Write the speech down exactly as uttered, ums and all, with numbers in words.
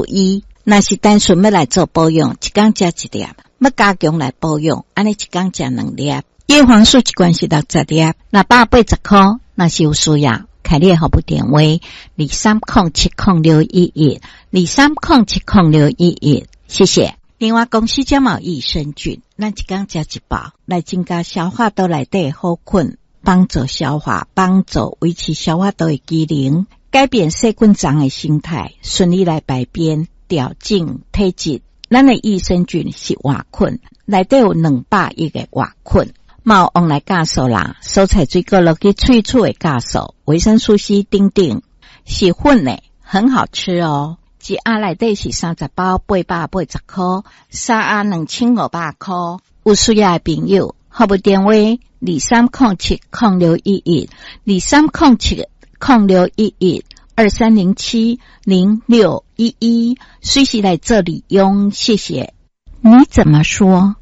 一。若是單純欲來做保養，一工食一粒；欲加強來保養，按呢一工食兩粒。葉黃素一罐是六十粒，六百八十箍。若是有需要，開你的服務電話：二三空七空六一一，二三空七空六一一。謝謝。另外，公司這嘛有益生菌，咱一工食一包，來增加消化道內底的好菌，幫助消化，幫助維持消化道的機能，改變細菌叢的生態，順利來排便，調整體質。咱的益生菌是活菌，內底有兩百億个活菌。嘛有黃來酵素啦，蔬菜水果落去萃取的酵素，維生素 C 等等，是粉的，很好吃哦。一盒內底是三十包，八百八十箍，三盒兩千五百箍。有需要的朋友，服務電話：二三空七空六一一，二三空七空六一一，二三零七零六一一，隨時來做利用，謝謝。你怎麼說？